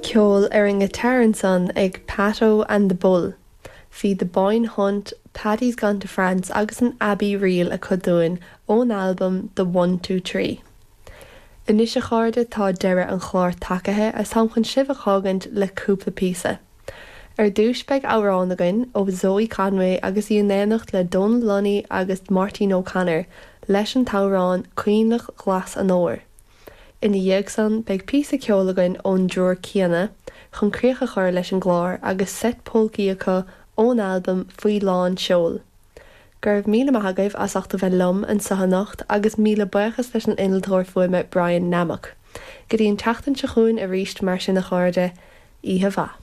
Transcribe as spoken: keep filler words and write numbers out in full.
Ceol ar an ngiotár ansan ag Pato and the Bull. Bhí The Boyne Hunt, Paddy's Gone to France agus an Abbey Reel acu dúinn ón albam The One Two Three. Anois a chairde tá deireadh an chláir tagaithe is táim chun sibh a fhágaint le cúpla píosa. Ar dtús beidh amhrán againn ó Zoe Conway agus í in éineacht le Donal Lunny agus Máirtín O'Connor leis an t-amhrán Coinleach Ghlas an Fhómhair. Ina dhiaidh san beidh píosa ceoil againn ón dtriúr céanna chun críoch a chur leis an gclár agus seit polcaí acu ón albam Faoi Lán Seoil. Go raibh míle maith agaibh as ucht a bheith liom anseo anocht agus míle buíochas leis an innealtóir fuaime Brian Nammock. Go dtí an tseachtain seo chugainn arís mar sin a chairde, oíche mhaith.